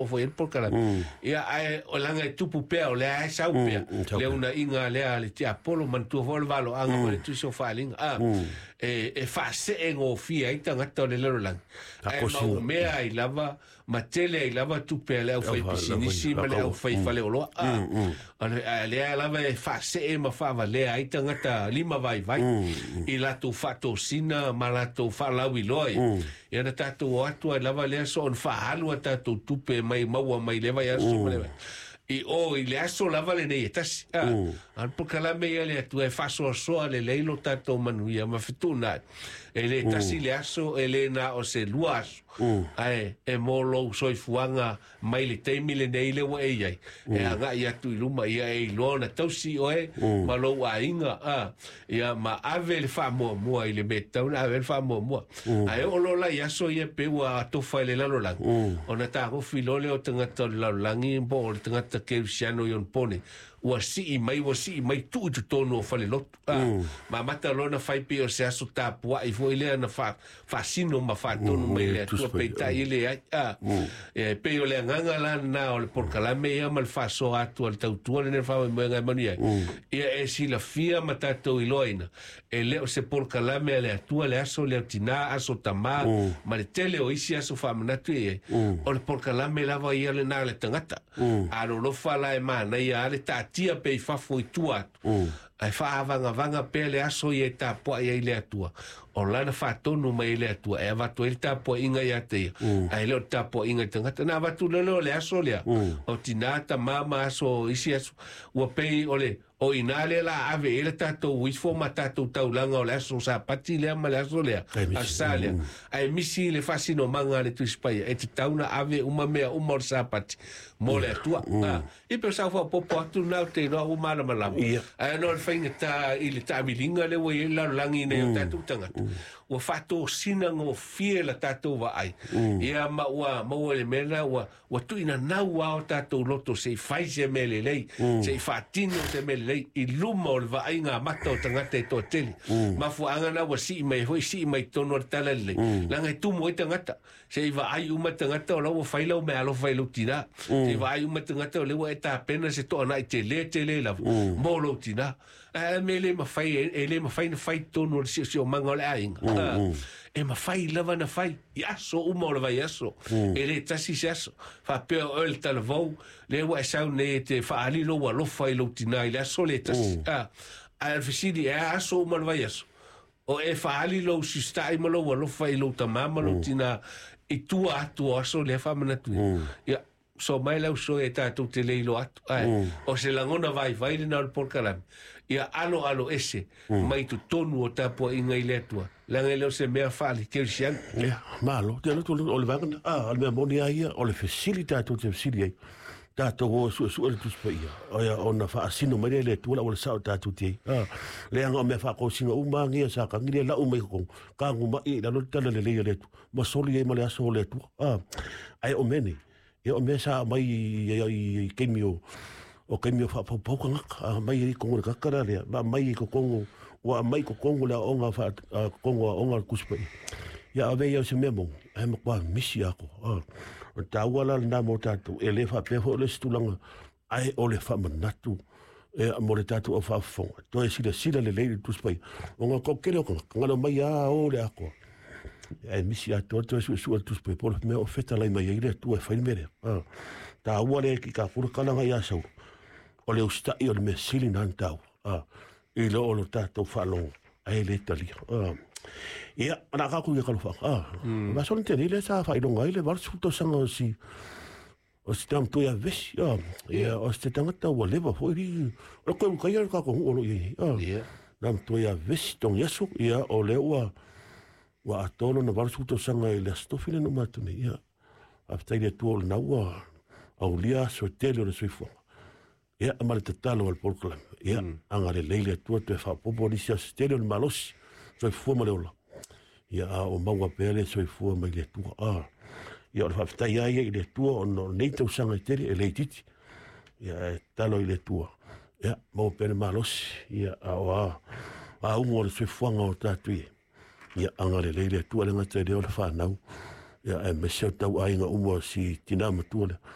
Foi le polokalame. Ia, ae o laga e tupu pea, o lea e sau pea le unaiga lea a le tiapolo. Manatua foi o le valoaga ma le tusi o faaliga a e faasee gofie ai tagata o le lalolagi, ae maumea ai lava ma tele ai lava tupe a le aufaipisinisi ma le aufaifaleoloa a lea lava e faasee ma faavalea ai tagata lima vaivai i latou faatosina ma latou faalauiloa ia. Ia na tatou o atu ai lava lea so ona faaalu a tatou tupe mai maua mai le vaiaso ma le i o i le aso lava lenei e tasi. A a le polokalame ia le Atua e faasoasoa lelei lo tatou manuia ma fetuunai. E le tasi le aso, e le na o se 2 aso, ae e mo lou soifuaga mai le taimi lenei le ua e i ai e agai atu i luma. Ia e iloa ona tausi oe ma lou aiga a ia ma ave le faamuamua i le mea e tatau ona ave le faamuamua. Ae oo loa la i aso ia pe ua atofa i le lalolagi, ona tagofi loa lea o tagata o le lalolagi po o le tagata kerisiano i ona pone ua sii mai, ua sii mai tuu i totonu o falelotu a ma amata loa na fai pei o se aso tapuai foi lea na faasino ma faatonu mai le Atua, peitai e leai a. E pei o le agaga la lena o le polokalame ia ma le faasoa atu a le tautua lenei faamoemoega e manuia ai. Ia e silafia ma tatou iloaina e le o se polokalame a le Atua le aso lea o tinā, aso tamā ma le tele o isi aso faamanatu e i ai. O le polokalame lava ia lena a le tagata. Alolofa la e manaia a le taatia pe i fafo i tua atu. Ae faaavagavaga pea le aso ia e tapuai ai le Atua. O lana faatonu mai e le Atua e avatu ai le tapuaiga ia te ia. Ae le o le tapuaiga i tagata. Na avatu lele o le aso lea. O tinā, tamā ma aso isi aso. Ua pei o le o ina lea la ave i le tatou uifo ma tatou taulaga o le aso Sapati lea ma le aso lea, aso Sa lea. Ae misi le faasinomaga a le Tusi Paia e tatau na ave uma mea uma o le Sapati mo le Atua. I pe sau faaopoopo atu na o te iloa ua malamalama. Ae ona o le faigata i le taamiliga lea ua i ai le lalolagi nei o tatou tagata. Ua faatosina gofie la tatou vaai. Ia ma ua maua i le mea lena ua ua tuuinanau lava o tatou loto se i fai se mea lelei, se i faatino se mea lelei i luma o le vaaiga amata o tagata e toatele. Mafuaaga na ua sii mai foi, sii mai totonu o le tala lelei. Leaga e tumu ai tagata, se i vaai uma tagata o la ua fai lau meaalofa i lou tinā. Se i vaai uma tagata o lea ua e tapena se toanai tele tele lava mo lou tinā. Ae mea le mafai, e le mafai na fai totonu o le siosiomaga o le aiga. E mafai lava na fai i aso uma o le vaiaso. E le tasi se aso. Faapea oe le talavou, lea ua e sau nei e te faaali lou alofa i lou tinā i le aso le tasi. Ae o le fesili, e a aso uma o le vaiaso? O e faaali lou sista'i ma lou alofa i lou tamā ma lou tinā i tua atu o aso lea faamanatu. Ia, so mai lau soe e tatou te le iloa atu. Ae, o se lagona vaivai lena o le polokalame. Ia alo alo ese mai totonu o tapuaiga i le Atua. Leaga e le o se mea faale-kerisiano. Ia, malo. Te alotu o le vaega lena. A, o le mea moni lava ia, o le fesili tatou te fesili ai. Tatou o e suesue le Tusi Paia. Ia, ona faasino mai lea e le Atua le auala sao tatou te i ai. A, leaga o mea faatosina uma lava ia sa tagi lea lau mai totonu, tagumai i lalo le tala lelei a le Atua, ma soli ai ma le aso o le Atua. A, ae o mea nei, ia o mea sa aumai i taimi o o taimi o faapaupau tagata, aumai ai i totonu o le tagata la lea, ma aumai i totonu, ua aumai i totonu le aoaoga faa totonu o aoga a le Tusi Paia. Ia ave ia o se mea moni, ae matua misi atoa. O le taua la lena mo tatou, e le faapea foi o le isi tulaga, ae o le faamanatu e mo le tatou au faafofoga, toe silasila lelei i le Tusi Paia, ona o le toatele o tagata, na ona omai lava o le atoa. Ae misi atoa toe suesue le Tusi Paia, po o le mea o fetalai mai ai le Atua e fai le mea lea. Taua lea ki tatou le tala na ia Saulo, o le usitai o le mea sili na ona taua, i lo o lo tatou faalogo ae le talia. Ia, o le a tatou ia talofaga. Vaiaso na tea nei lea sa faailoga ai le 80 tausaga o si o si tama ia vesi. Ia, o se tagata ua leva foi li o le koe ukaia le tatou nuu o lo o i ai nei. Na matua ia vesi togi aso, ia o lea ua ua atoa lona 80 tausaga i le Aso Tofi lea na uma atu nei. Ia, faafetai i le Atua o lena ua aulia aso e tele o le soifuaga. Ia, ma le tatalo a le polokalame. Ia, agalelei le Atua toe faaopoopo nisi aso tele o le malosi, soifua ma le ola. Ia, a o maua pea le soifua mai le Atua. Ia, o le faafetai lava ia i le Atua ona o lenei tausaga e tele e le itiiti. Ia, e tatalo i le Atua. Ia, maua pea le malosi. Ia, a o a auga o le soifuaga o tatou i ai. Ia, agalelei le Atua, e le gata i lea o le fanau. Ia, aemaise o tauaiga uma o si tina matua lea.